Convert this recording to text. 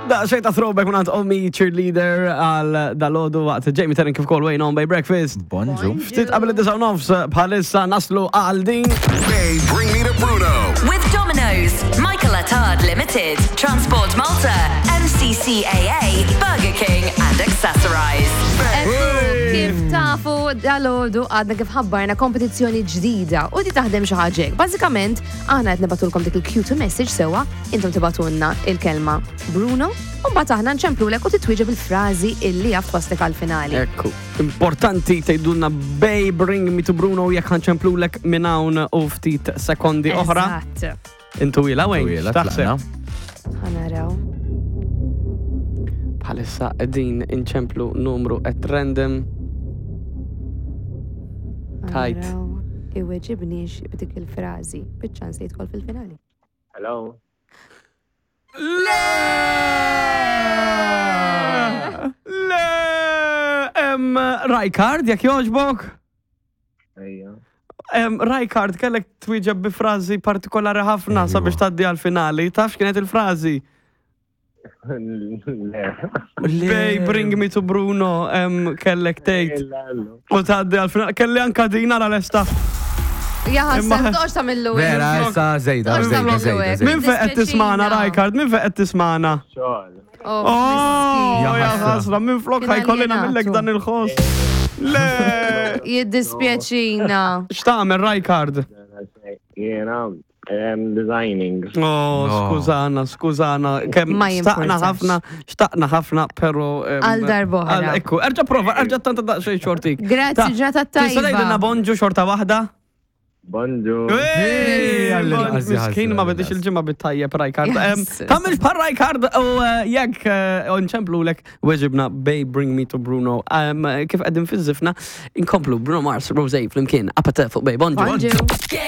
Daqsxejn ta' throwback minn Omi cheerleader għal dalodu waqt Jamie Terren kif kol Wayne on by breakfast. Bonġu. Ftit qabel id-disa' nofs bħalissa naslu għal din. Bay, bring me to Bruno. With Domino's, Michael Attard Limited, Transport Malta, MCCAA, Burger King and Accessorize. Ekku, kif tafu dalodu għadna kif ħabbarna kompetizzjoni ġdida u di taħdem xi ħaġa hekk. Bażikament, aħna qed nibatulkom dik il-cute message sewwa, intom tibatunna il-kelma Bruno, u mbagħad aħna nċemplulek u titwieġeb il-frażi illi jaf twaslek għall-finali. Ekku, importanti tgħidulna Bay bring me to Bruno jekk ħanċemplulek minn hawn u ftit sekondi oħra. Eżatt. Intu ila wejn, Twila, x'taħseb? tlaqna. Ħanaraw. Bħalissa qegħdin inċemplu numru at random. Tajt. Ħanaraw. Iweġibniex b'dik il-frażi, biċ-ċans li jidħol fil-finali. Hello. Le! Le! Em, Rajkard, jekk jogħġbok? Ejja. Em, Rajkard, kellek twieġeb bi frażi partikolari ħafna sabiex tgħaddi għal-finali. Taf x'kienet il-frażi? Le. Bay, bring me to Bruno, em, kellek tgħid. U tgħaddi għal-finali. Kelli anka din ara lesta. Ja Imma- ħaseb, toqgħodx tagħmillu hekk. Vera, issa zejda, Toqgħodx zejda, tagħmillu zejda. hekk. zejda. Min fejn qed tismana, Rajkard? Min fejn qed tismana? Xogħol. Oh, Oh, miskin. ja Ja ħasra. ħasra, minn flok Kien ħajkolli aljenatu. nagħmillek dan il-ħoss. Le! Jiddispjaċina. X'tagħmel Rajkard? Jena, designing. Oh, No. skużana, skużana. Kemm Ma xtaqna jimpurtax. ħafna, xtaqna ħafna, pero. em, Għal darb'oħra. għal- Ekku, erġa' prova, erġa' tanta daqsxejn xortik. Grazzi, Ta- ġurnata Tista' tajba. tgħidilna bonġu xorta waħda? Bonġu. Ej, għall-inqas bon- Miskin ma jħassra, bedix għall-inqas. il-ġimgħa bit-tajjeb Rajkard. Em, Yes. Tagħmilx bħal Rajkard u eh, jekk eh, nċemplulek weġibna Bay Bring Me to Bruno. Em, Kif qegħdin fiż-żifna, inkomplu Bruno Mars, Rosé flimkien, apate fuq Bay Bonġu. Bonġu. Get